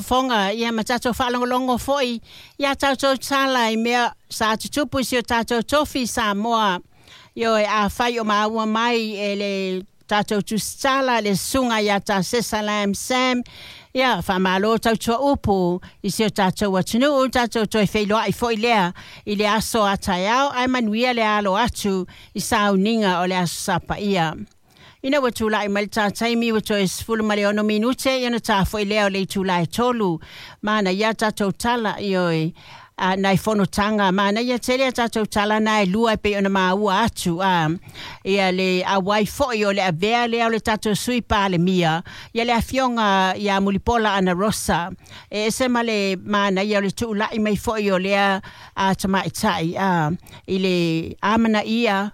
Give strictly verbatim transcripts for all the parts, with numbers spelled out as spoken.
Fofoga ia ma tatou faalogologo foi ia tatou tala i mea sa tutupu i si o tatou tofi Samoa. Ioe, afai o maua mai e le tatou tusitala le susuga ia Tasesa Lam Sam, ia faamalo tautua upu i si o tatou atunuu, tatou toe feiloai foi lea i le aso a taeao, ae manuia le alo atu i sauniga o le aso Sapaia. Ina ua tulai mai le tā taimi ua toe sefulu ma le ono minute, ia ona tā foi lea o le itula e tolu. Mana ia tatou tala, ioe, a nai fonotaga, manaia tele a tatou tala na e lua e pei ona maua atu a ia le auai foi o le avea lea o le tatou sui palemia ia le afioga ia Mulipola Ana Rosa. E ese ma le manaia o le tuulai mai foi o lea a tamaitai a i le amanaia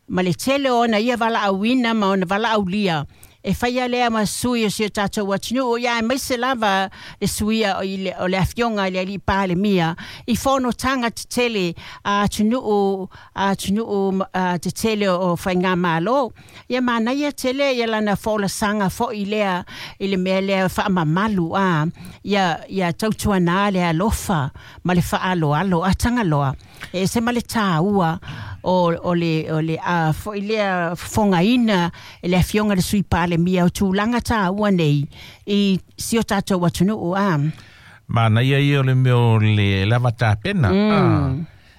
ma le tele o ona ia valaauina ma ona valaaulia e faia lea ma sui o si o tatou atunuu, ia aemaise lava le suia o le, o le afioga i le alii palemia i fonotaga tetele a atunuu a atunuu tetele o faigamalo. Ia manaia tele ia lana folasaga foi lea i le mea lea faamamalu a ia ia tautuanā le alofa ma le faaaloalo a Tagaloa. E ese ma le tāua o, o le, o le a foi lea fofogaina e le afioga le sui palemia o tulaga tāua nei i si o tatou atunuu a. Manaia ia o le mea o le lava tapena. Mm. Ah.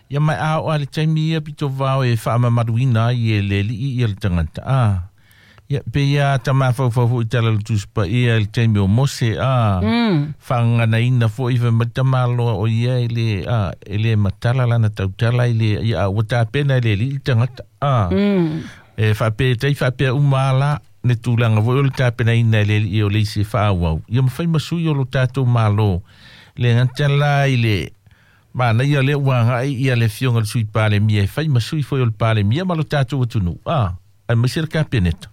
Ia mai a o le taimi ia pito vao e faamamaluina ai e le alii ia le tagata. Ah. Ia pe ia tamafaufau foi tala le Tusi Paia le taimi o Mose a mm. faagaganaina foi fai mai tamaloa o ia e le a e le matala lana tautala i le ia ua tapena e le alii le tagata a mm. e faapea tai faapea uma ala le tulaga foi o le tapenaina e le alii o le isi e faaauau ia mafai ma sui o lo tatou malo le gata la i le manaia lea ua agai ia le afioga le sui palemia e fai ma sui foi o le palemia ma lo tatou atunuu a aemaise le kapeneta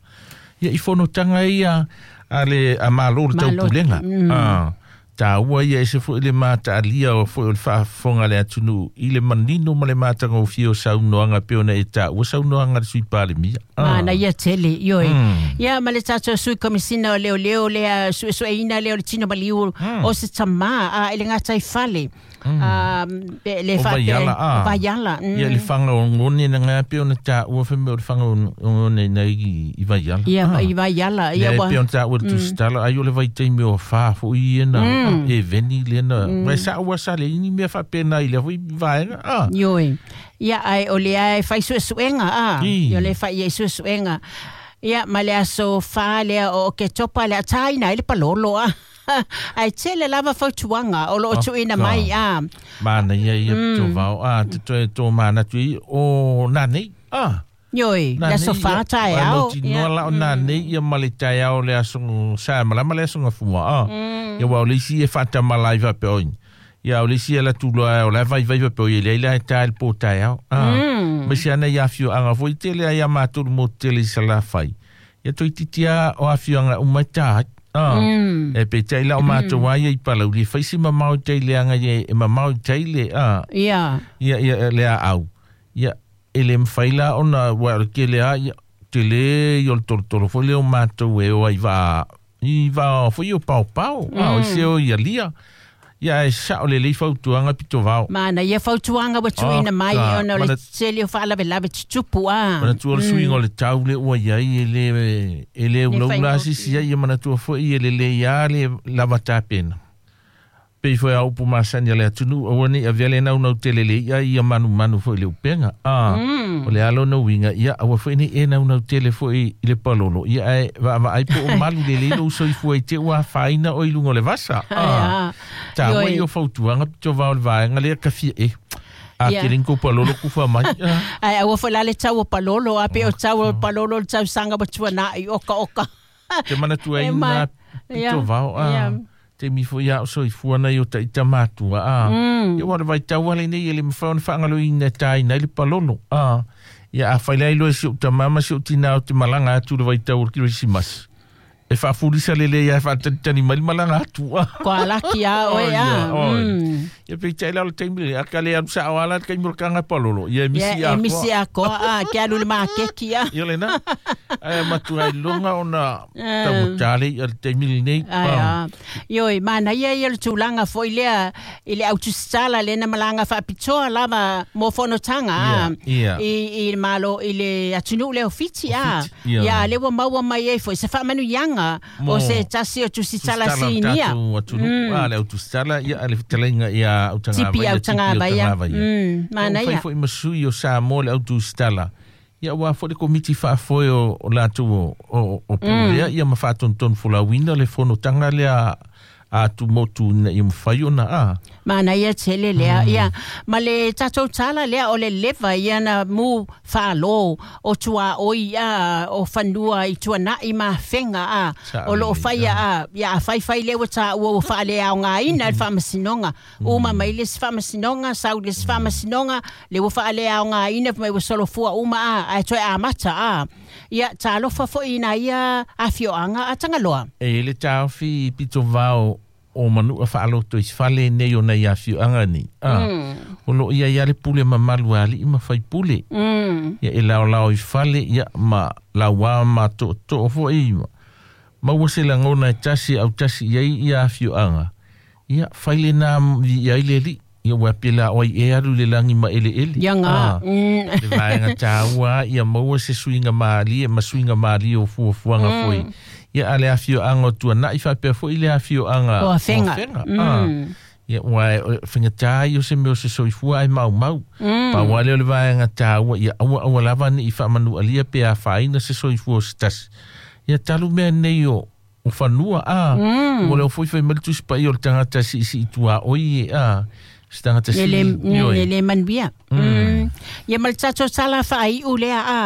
ia i fonotaga ia a le a malo le taupulega mm. a tāua ia ese foi le mataalia o foi o le faafofoga le atunuu i le manino ma le matagofie o saunoaga pe ona e taua saunoaga le sui palemia. Manaia tele, ioe. Ia ma le tatou sui komisina o leoleo lea suesueina lea o le tino maliu Mm. o se tamā a i le gataifale. Mm. Pe le O faapea Vaiala, a. o Vaiala. Mm. Ia le faga o gone na ngā pe ona taua fai mea o le faga o gone nei i, i Vaiala. Ia Ah. i Vaiala, ia Ia ua. pe ona taua le tusitala ai o le vaitaimi o whā foi ia na Mm. e veni le na. Mai sa ua sa le ini mea faapena i le foi vaega. Ah. Ioe. Ia ai o le ai fai suesuega a. I. Ia le fai ia suesuega. Ia ma le aso whā lea o Oketopa le ataina i le palolo a. Ai tele lava fautuaga o loo Oh, tuuina ka. mai a. Mana ia ia mm. vao a te toe tō manatu i o nā nei. Ah. Ioe, le aso whā taeao. Ia la o nā nei ia ma le taeao le aso sa malama le aso ngafua. Ah. Ia wa o le isi e whātamala i wape oi. Ia o le isi e la tuloa o la vai vai wape oi le ila e tae le pō taeao. Ah. Mm. Ma si ana i awhio anga foi tele ai a māturu mō tele i sa la whai. Ia toi titia o awhio anga umai tāi. Ah. Mm. E pe tai la o mātou ai i palauli. Whai si mamau tei le anga ia e mamau tei le. Ah. Ia. Ia, ia, le a au. Ia, e le mwhai la ona, wa o ke le a, ia, te le i o le tolo tolo foi le o mātou e o ai vā, i vā foi o pau pau, mm. A, o se o ia lia. Ia e sa o le lei fautuanga pito vao. Mana ia fautuaga ua tuuina Oh, mai ka. ona o le Mana- tele o faalavelave tutupu a. Manatua le suiga o le tau le ua iai e le e le ulaula asisi ai ia manatua foi e lelei a le lava tapena. Pei foi a upu masani a le atunuu aua nei avea le naunau tele le ia ia manumanu foi le upega. Ah, Mm. o le alo na uiga ia aua foi nei e naunau tele foi i le palolo ia ae vaavaai po o malu lelei lou soifua i te ua afaina o i luga o le vasa. Ah, Ah. tāua Ioe. i o fautuaga pito vao le vaega lea kafia e. A Ia. ke ringo palolo kufa mai. Ah. Ai aua foi la le tau o palolo a pe o tau o palolo le tausaga ua tuana'i oka oka. Te manatua E ai mai. nā pito Ia. vao. Ah. Ia. Te mi foi a o soifua nei o taita matua. Ah. Mm. Ia wa le vaitau ale nei e le mawhai ona whaangaloina tai nei le palolo. Ah. Ia a whailai loe si o tamama si o tina o te malanga atu le vaitau o le Kirisimasi. E faafulisa lelei ae faatalitali mai le malaga atu a. Koalaki a oe a. Ia peitai la o le taimi le a ka le alu sa'o a la le taimi o le kaga palolo ia e misi atoa. Ia e misi atoa a ke alu i le makeki a. Ia lena ae matuai luga ona taugata le i'a le taimi lenei. Ae a. Ioe manaia ia le tulaga fo'i lea i le autusitala lena malaga faapitoa lava mo fonotaga a i i le Malo i le atunuu lea o Fiti a. Ia lea ua maua mai ai fo'i se faamanuiaga o se tasi o tusitala sinia. Atunuu a le autusitala ia le fetalaiga ia Tipi Autagavaia. Manaia. Fai fo'i ma sui o Samoa le autusitala. Ia ua fo'i le komiti faafoe o latou o o pulea ia ma faatonutonu folauina le fonotaga lea a tumotu ina ia mafai ona a. Manaia tele lea ia ma le tatou tala lea o le leva ia na mu faalo o tuaoi a o fanua i tuana'i ma afega a o loo faia a ia afaifai lea ua taua ua faaleaogaina le faamasinoga uma mai le isi faamasinoga sau le isi faamasinoga le ua faaleaogaina mai ua solofua uma a ae toe amata a ia talofa fo'i ina ia afioaga a Tagaloa. E le taofi pito vao o manua faaloto i fale nei o nei afioaga nei. A o loo ia ia le pule mamalu a alii ma faipule. Ia e laolao i fale ia ma lauā ma tootoo fo'i ma ua se lagona e tasi au tasi iai ia afioaga. Ia fai lenā viia ai le alii. Ia ua pela oi e alu le lagi ma eleele. Ia ga. Le vaega tāua ia maua se suiga malie ma suiga malie o fuafuaga fo'i. Ia a le afioaga o tuana'i faapea fo'i le afioaga o Afega. Ia ua fagatā ia o se mea o se soifua ai maumau. Pau lea o le vaega tāua ia aua aua lava ni'i faamanualia pe afaina se soifua o se tasi. Ia talu mea nei o o fanua a. Ua leo foi fai mai le tusi paia o le tagata siisii tuaoi e a. Se tagata sili. E le manuia. Ia ma le tatou tala faaiu lea a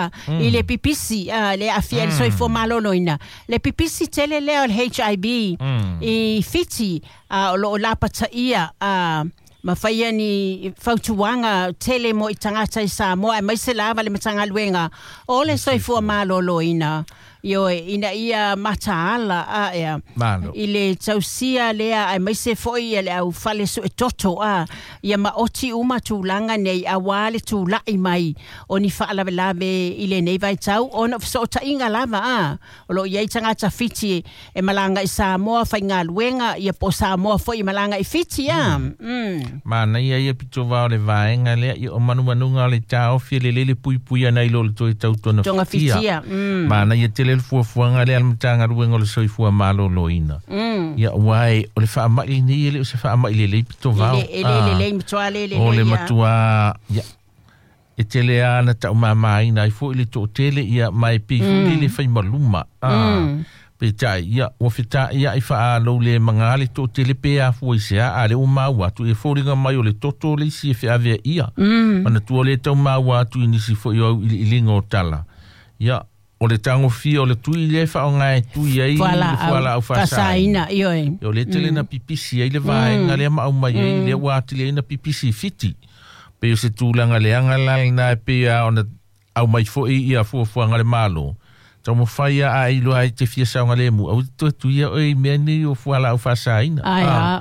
i le pipisi a le aafia i le soifua maloloina. Le pipisi tele lea o le H I V i Fiti a o loo lapataia a ma faia ni fautuaga tele mo i tagata i Samoa aemaise lava le Matagaluega o le soifua maloloina. Ioe ina ia mataala a ea i le tausia lea aemaise fo'i ia le aufale su'etoto a ia maoti uma tulaga nei auā le tula'i mai o ni faalavelave i lenei vaitau ona o feso'otaiga lava a o loo iai tagata Fiti e malaga i Samoa faigaluega ia po o Samoa fo'i e malaga i Fiti a. Manaia ia pito vao le vaega lea ia o manumanuga o le taofi e lelei le puipui ana i lo le toe tautoga fitia. Manaia tele le fuafuaga lea a le Matagaluega o le Soifua Maloloina. Ia ua e o le faama'i lenei e le o se faama'i lelei pito vao. E le lelei matuā le lelei o le matuā ia e tele a na taumāmāina ai fo'i le to'atele ia ma e pei fo'i le faimaluma a. Peitai ia ua feta'ia'i fa'alou le magā le to'atele pe afua i se a a le ua maua atu e foliga mai o le toto le isi e fe'avea ia. Manatua lē taumaua atu i nisi fo'i o au'ili'iliga o tala. Ia o le tagofia o le tui lea faaoga e tui ai le fualaau faasaina. Ioe. O le tele na pipisi ai le vaega lea ma aumai ai lea ua atili ai na pipisi i Fiti. Pei o se tulaga leaga la lenā e pei a ona aumai fo'i ia fuafuaga le Malo. Taumafai a ai loa ai te fia saogalemu au toe tuia oe i mea nei o fualaau faasaina. Ai a.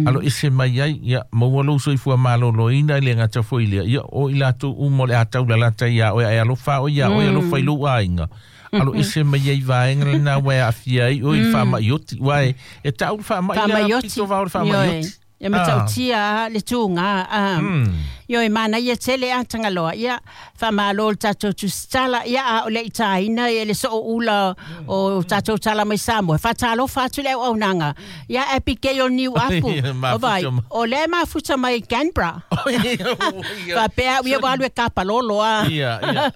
Alo ese mai ai ia maua lou soifua maloloina i le gata fo'i lea ia o i latou uma o le a taulalata iā oe ae alofa oe iā oe alofa i lou aiga. Alo ese mai ai vaega lenā ua e aafia ai oe i le faama'ioti uae e ta'u le faama'i lea pito vao le faama'ioti. Ia matautia le tuga a. Ioe manaia tele a Tagaloa ia faamālo le tatou tusitala ia a o le itaina e le so'oula o tatou tala mai Samoa faatalofa atu le auaunaga ia Abigail Niu Apu o vai o lea mafuta mai Canberra faapea ia ua alu e kapalolo a. Ia ia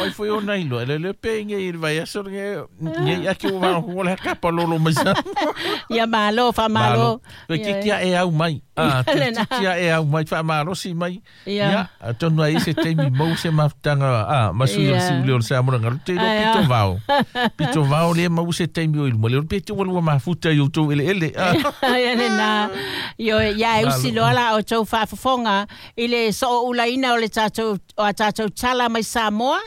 oi foi ona iloa le le pe nge i le vaiaso nge nge ake ua vaoa le kapalolo mai Samoa. Ia malo faamālo. Toe titi a'e au mai. Ah, titi a'e au mai faamalosi mai. Ia, atonu ai se taimi mau se mafutaga a ma sui o le si'ule o le Samoa galu te iloa pito vao. Pito vao lea mau se taimi o i luma lea pe te ua lua mafuta i outou eleele. Ia lenā. Ioe ia e usi loa la outou faafofoga i le so'oulaina o le tatou o a tatou tala mai Samoa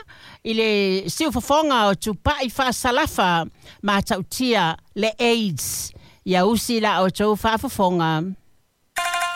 I le siufofoga o tupa'i faasalafa matautia le AIDS. Ia usi la outou faafofoga.